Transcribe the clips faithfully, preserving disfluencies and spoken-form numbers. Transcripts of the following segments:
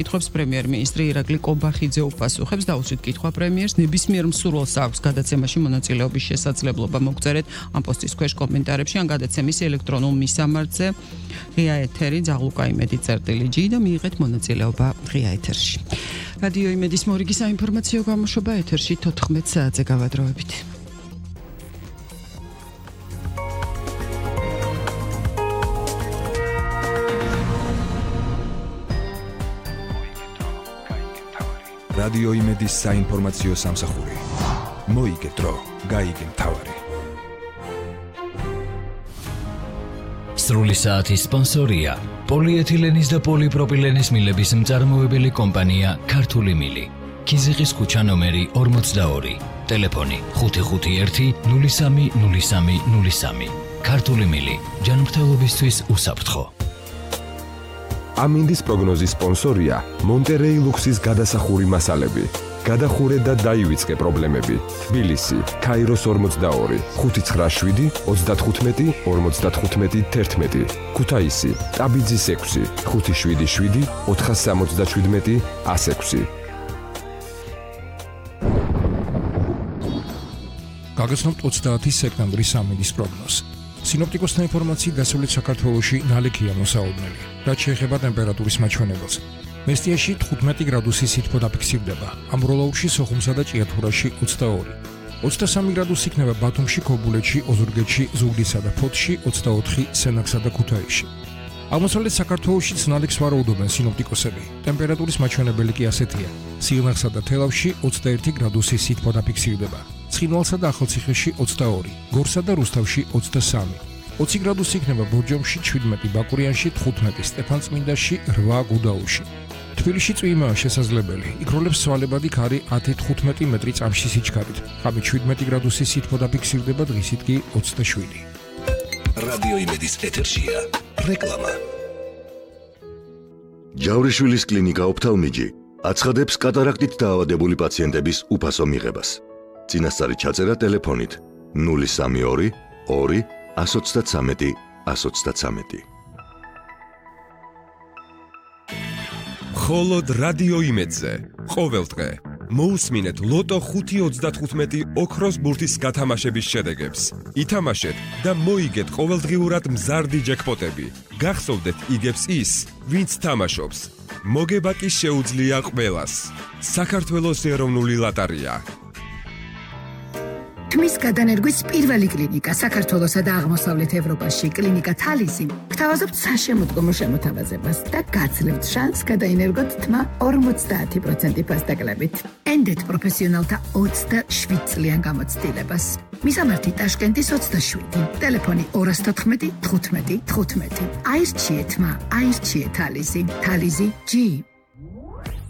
კითხავს პრემიერ-მინისტრი ირაკლი კობახიძე უპასუხებს დაუშვით კითხვა პრემიერს ნებისმიერ მსურველს აქვს გადაცემაში მონაწილეობის შესაძლებლობა მოგწერეთ ამ პოსტის ქვეშ კომენტარებში ან გადაცემის ელექტრონულ მისამართზე ღია ეთერი ძაღლუკა იმედი წერტილი ჯი და მიიღეთ მონაწილეობა ღია ეთერში. რადიო იმედის მორიგი საინფორმაციო გამოშვება ეთერში თოთხმეტ საათზე გავადროებით. რადიო იმედის საინფორმაციო სამსახური. მოიგეთ დრო, გაიგე მთავარი. სრული საათის სპონსორია პოლიეთილენის და პოლიპროპილენის მილების მწარმოებელი კომპანია ქართული მილი. ქიზიყის ქუჩა ნომერი ორმოცდაორი. ტელეფონი ხუთი ხუთი ერთი ნული სამი ნული სამი ნული სამი. ქართული მილი ჯანმრთელობისთვის უსაფრთხო. ამინდის პროგნოზის სპონსორია მონტერეი ლუქსის გადასახური მასალები. გადახურე და დაივიწყე პრობლემები. თბილისი, ქაიროს ორმოცდაორი, ხუთი ცხრა შვიდი ოცდათხუთმეტი ორმოცდათხუთმეტი თერთმეტი. ქუთაისი, ტაბიძის ექვსი, ხუთი შვიდი შვიდი ოთხასამოცდაშვიდმეტი ასექვსი. გაგაცნობთ ოცდაათი სექტემბრის ამინდის პროგნოზს. სინოპტიკოსთა ინფორმაციით დასავლეთ საქართველოში ნალექია მოსაუბნელი. რაც შეეხება ტემპერატურის მაჩვენებელს. მესტიაში თხუთმეტი გრადუსი სითბო დაფიქსირდება. ამბროლაურში, სოხუმსა და ჭიათურაში ოცდაორი. ოცდასამი გრადუსი იქნება ბათუმში, ქობულეთში, ოზურგეთში, ზუგდიდსა და ფოთში, ოცდაოთხი სენაკსა და ქუთაისში. აღმოსავლეთ საქართველოშიც ნალექს ვარაუდობენ სინოპტიკოსები. ტემპერატურის მაჩვენებელი კი ასეთია. სიღნაღსა და თელავში ოცდაერთი გრადუსი სითბო დაფიქსირდება. ცხინვალსა და ახალციხეში ოცდაორი, გორსა და რუსთავში ოცდასამი. ოცი გრადუსი იქნება ბორჯომში, შვიდმეტი ბაკურიანში, თხუთმეტი სტეფანწმინდაში, რვა გუდაუში. თბილისში წვიმაა შესაძლებელი. იქროლებს სვალებადი ქარი ათი თხუთმეტი მეტრი წამში სიჩქარით. ღამით შვიდმეტი გრადუსი სითბო დაფიქსირდება, დღისით კი ოცდაშვიდი. რადიო იმედის ეთერშია რეკლამა. ჯავრიშვილის კლინიკა ოფთალმიჯი აცხადებს კატარაქტით დაავადებული პაციენტების უფასო მიღებას. წინასწარი ჩაწერა ტელეფონით ნული სამი ორი ორი ას ოცდათვრამეტი ას ოცდათვრამეტი. მხოლოდ რადიო იმედზე ყოველ დღე მოусმინეთ ლოტო ხუთი ოცდათხუთმეტი ოქროს ბურთის გათამაშების შედეგებს. ითამაშეთ და მოიგეთ ყოველდღიურად მზარდი ჯეკპოტები. გახსოვდეთ იგებს ის, ვინც თამაშობს. მოგება კი შეუძლია ყველას. საქართველოს ეროვნული ლოტარია. თმის გადანერგვის პირველი კლინიკა საქართველოსა და აღმოსავლეთ ევროპაში კლინიკა თალისი გთავაზობთ საშემოდგომო შემოთავაზებას და გაძლევთ შანსს გადაინერგოთ თმა ორმოცდაათი პროცენტი ფასდაკლებით. ენდეთ პროფესიონალთა ოცდაშვიდ წლიან გამოცდილებას. მისამართი ტაშკენტის ოცდაშვიდი, ტელეფონი ორას თოთხმეტი თხუთმეტი თხუთმეტი. აირჩიეთ თმა, აირჩიეთ თალისი, თალისი ჯი.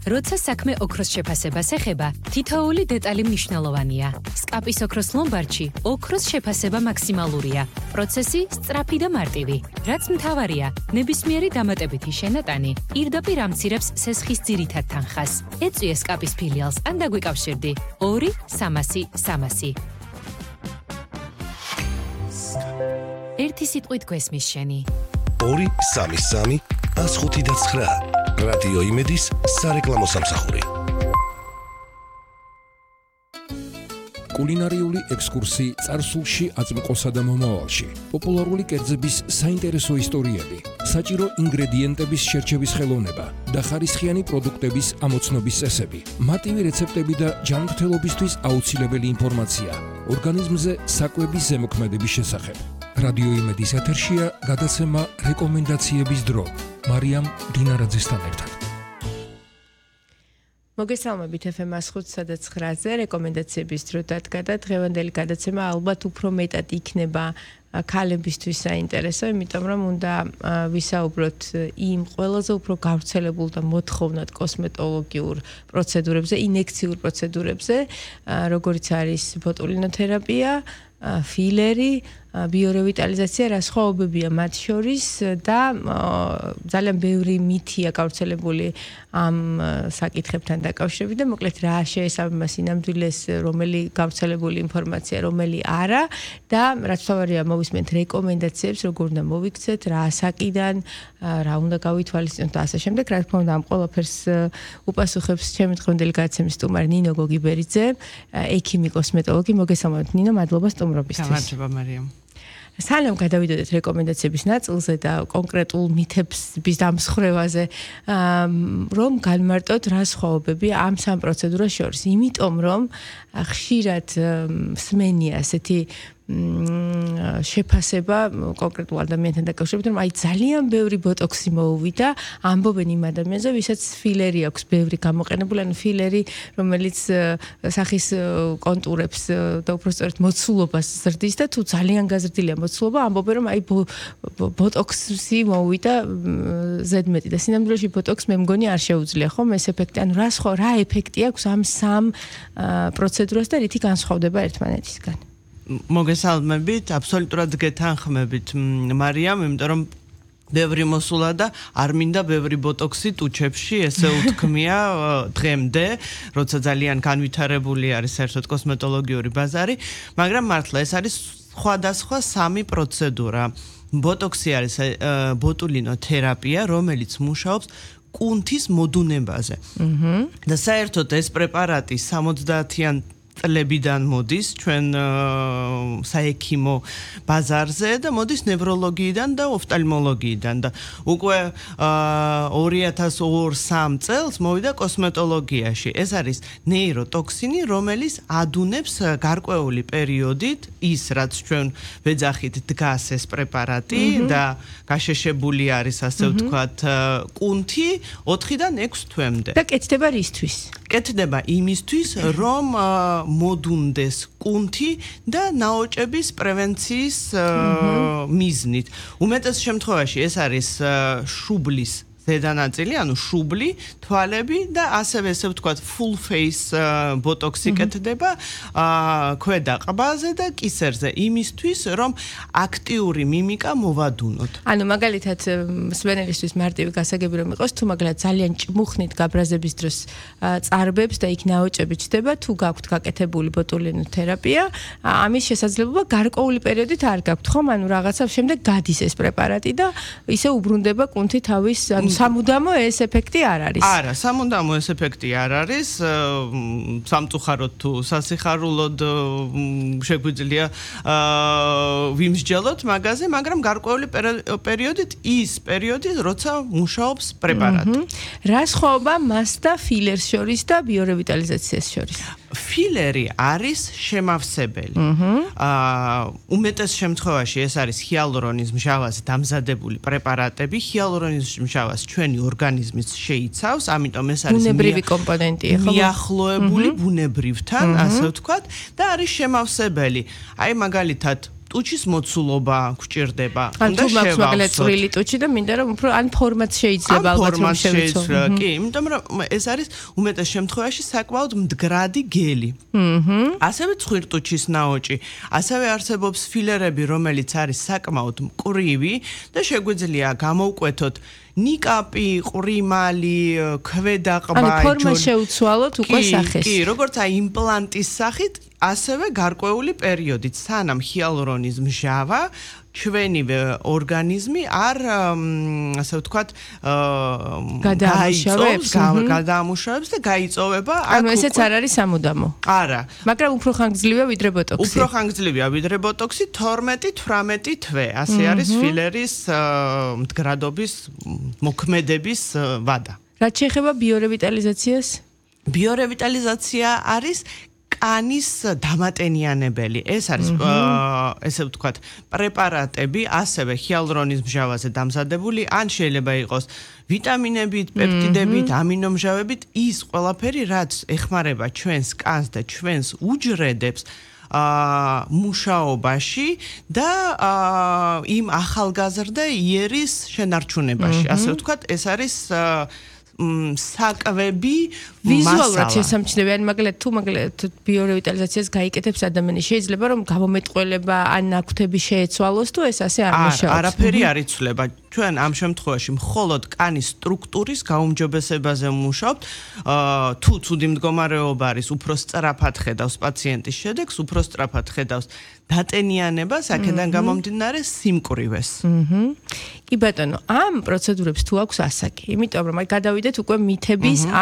როცა საქმე ოქროს შეფასებას ეხება, თითოეული დეტალი მნიშვნელოვანია. სკაპის ოქროს ლომბარდში ოქროს შეფასება მაქსიმალურია. პროცესი სწრაფი და მარტივი. რაც მთავარია, ნებისმიერი დამატებითი შენატანი პირდაპირ ამცირებს სესხის ძირითად თანხას. ეწვიე სკაპის ფილიალს ან დაგვიკავშირდი ორი სამასი სამასი. ერთი სიტყვით გვესმის შენი. ორი სამი სამი ას ხუთი და ცხრა. რადიო იმედის სარეკლამო სამსახური. კულინარიული ექსკურსი წარსულში, აწმყოსა და მომავალში. პოპულარული კერძების საინტერესო ისტორიები, საჭირო ინგრედიენტების შერჩევის ხელოვნება და ხარისხიანი პროდუქტების ამოცნობის წესები. მარტივი რეცეპტები და ჯანმრთელობისთვის აუცილებელი ინფორმაცია. ორგანიზმზე საკვების ზემოქმედების შესახებ. რადიო იმედის ეთერშია გადაცემა რეკომენდაციების დრო. მარიამ დინარაძესთან ერთად. მოგესალმებით ეფ ემ ას ხუთსა და ცხრაზე რეკომენდაციების დრო დადგა და დღევანდელი გადაცემა ალბათ უფრო მეტად იქნება ქალებისთვის საინტერესო, იმიტომ რომ უნდა ვისაუბროთ იმ ყველაზე უფრო გავრცელებულ და მოთხოვნად კოსმეტოლოგიურ პროცედურებზე, ინექციურ პროცედურებზე, როგორიც არის ბოტულინოთერაპია, ფილერი ბიორევიტალიზაცია რა სხვაობებია მათ შორის და ძალიან ბევრი მითია გავრცელებული ამ საკითხებთან დაკავშირებით და მოკლედ რა შეესაბამება სინამდვილეს, რომელი გავრცელებული ინფორმაცია, რომელი არა და რაც თავარია მოვისმენთ რეკომენდაციებს, როგორ უნდა მოვიქცეთ, რა ასაკიდან, რა უნდა გავითვალისწინოთ და ასე შემდეგ. რა თქმა უნდა, ამ ყველაფერს უპასუხებს ჩემი დღევანდელი გადაცემის სტუმარი ნინო გოგიბერიძე, ექიმი, კოსმეტოლოგი. მოგესალმებით ნინო, მადლობა სტუმრობისთვის. გამარჯობა მარიამ. სანამ გადავიდოდეთ რეკომენდაციების ნაწილზე და კონკრეტულ მითების დამსხვრევაზე, რომ განმარტოთ რა სხვაობებია ამ სამ პროცედურას შორის, იმიტომ რომ ხშირად სმენია ასეთი შეფასება კონკრეტულ ადამიანთან დაკავშირებით, რომ აი ძალიან ბევრი ბოტოქსი მოუვიდა, ამბობენ იმ ადამიანზე, ვისაც ფილერი აქვს ბევრი გამოყენებული, ანუ ფილერი, რომელიც სახის კონტურებს და უბრალოდ მოცულობას ზრდის და თუ ძალიან გაზრდილია მოცულობა, ამბობენ, რომ აი ბოტოქსი მოუვიდა ზედმეტი და სინამდვილეში ბოტოქს მე მგონი არ შეუძლია ხომ ეს ეფექტი, ანუ რა სხვა რა ეფექტი აქვს ამ სამ პროცედურას და რითი განსხვავდება ერთმანეთისგან? მოგესალმებით, აბსოლუტურად გეთანხმებით მარიამ, იმიტომ რომ ბევრი მოსულა და არ მინდა ბევრი ბოტოქსი ტუჩებში, ესე უთქმია დღემდე, როცა ძალიან განვითარებული არის საერთოდ კოსმეტოლოგიური ბაზარი, მაგრამ მართლა ეს არის სხვადასხვა სამი პროცედურა. ბოტოქსი არის ბოტულინოთერაპია, რომელიც მუშაობს კუნთის მოდუნებაზე. და საერთოდ ეს პრეპარატი სამოცდაათიან წლებიდან მოდის ჩვენ საექიმო ბაზარზე და მოდის ნევროლოგიიდან და ოფტალმოლოგიიდან და უკვე ორი ათას ორი სამ წელს მოვიდა კოსმეტოლოგიაში. ეს არის ნეიროტოქსინი, რომელიც ადუნებს გარკვეული პერიოდით ის, რაც ჩვენ ვეძახით დგას ეს პრეპარატი და გაშეშებული არის, ასე ვთქვათ, კუნთი ოთხიდან ექვს თვემდე. და კეთდება რისთვის? კეთდება იმისთვის, რომ მოდუნდეს კუნთი და ნაოჭების პრევენციის მიზნით. უმეტეს შემთხვევაში ეს არის შუბლის ზედანაწილი, ანუ შუბლი, თვალები და ასევე ესე ვთქვათ full face ბოტოქსი კეთდება ქვედა ყბაზე და კისერზე იმისთვის, რომ აქტიური მიმიკა მოვადუნოთ. ანუ მაგალითად მსმენელისთვის მარტივი გასაგები რომ იყოს, თუ მაგალითად ძალიან ჭმუხნით გაბრაზების დროს წარბებს და იქ ნაოჭები ჩდება, თუ გაქვთ გაკეთებული ბოტულინოთერაპია, ამის შესაძლებლობა გარკვეული პერიოდით არ გაქვთ, ხომ? ანუ რაღაცა შემდეგ გადის ეს პრეპარატი და ისე უბრუნდება კუნთი თავის სამუდამო ეს ეფექტი არ არის. არა, სამუდამო ეს ეფექტი არ არის. სამწუხაროდ თუ სასიხარულოდ შეგვიძლია ვიმსჯელოთ მაგაზე, მაგრამ გარკვეული პერიოდით ის პერიოდი, როცა მუშაობს პრეპარატი. რა სხვაობა მას და ფილერს შორის და ბიორევიტალიზაციას შორის? ფილერი არის შემავსებელი. უმეტეს შემთხვევაში ეს არის ჰიალურონის მჟავაზე დამზადებული პრეპარატები. ჰიალურონის მჟავას ჩვენი ორგანიზმიც შეიცავს, ამიტომ ეს არის ბუნებრივი კომპონენტია, ხო? მიახლოებული ბუნებრივთან, ასე ვთქვათ, და არის შემავსებელი. აი მაგალითად ტუჩის მოცულობა გვჭირდება. ან თუ მაქვს მაგალითად წვრილი ტუჩი და მინდა რომ უფრო ან ფორმაც შეიძლება ალბათ რომ შევიცო. კი, იმიტომ რომ ეს არის უმეტეს შემთხვევაში საკმაოდ მდგრადი გელი. ასევე ცხვირტუჩის ნაოჭი, ასევე არსებობს ფილერები, რომელიც არის საკმაოდ მკვრივი და შეგვიძლია გამოვკვეთოთ ნიკაპი, ყრიმალი, ქვედაყბა, ანუ ფორმა შეუცვალოთ უკვე სახეს. კი, როგორც აი იმპლანტის სახით, ასევე გარკვეული პერიოდით, სანამ ჰიალურონის მჟავა ჩვენივე ორგანიზმი არ ასე ვთქვათ გადაამუშავებს გადაამუშავებს და გაიწოვება. ანუ ესეც არ არის სამუდამო. არა. მაგრამ უფრო ხანგრძლივია ვიდრე ბოტოქსი. უფრო ხანგრძლივია ვიდრე ბოტოქსი, თორმეტი თვრამეტი თვე. ასე არის ფილერის მდგრადობის მოქმედების ვადა. რაც შეეხება ბიორევიტალიზაციას? ბიორევიტალიზაცია არის კანის დამატენიანებელი. ეს არის ესე ვთქვათ, პრეპარატები, ასევე ჰიალურონის მჟავაზე დამზადებული, ან შეიძლება იყოს ვიტამინებით, პეპტიდებით, ამინომჟავებით, ის ყველაფერი, რაც ეხმარება ჩვენს კანს და ჩვენს უჯრედებს მუშაობაში და იმ ახალგაზრდა იერის შენარჩუნებაში. ასე ვთქვათ, ეს არის საკვები ვიზუალურად შესამჩნევი, მაგალითად თუ მაგალითად ბიორევიტალიზაციას გაიკეთებს ადამიანი, შეიძლება რომ გამომეტყველება ან ნაკვთები შეეცვალოს თუ ეს ასე არ მუშაობს. არაფერი არ იცვლება. ჩვენ ამ შემთხვევაში მხოლოდ კანის სტრუქტურის გაუმჯობესებაზე ვმუშაობთ. თუ ცუდი მდგომარეობა არის, უფრო სწრაფად ხედავს პაციენტის შედეგს, უფრო სწრაფად ხედავს დატენიანებას, აქედან გამომდინარე სიმკვრივეს. აჰა. კი ბატონო, ამ პროცედურებს თუ აქვს ასაკი, იმიტომ რომ აი გადავიდეთ უკვე მითების ან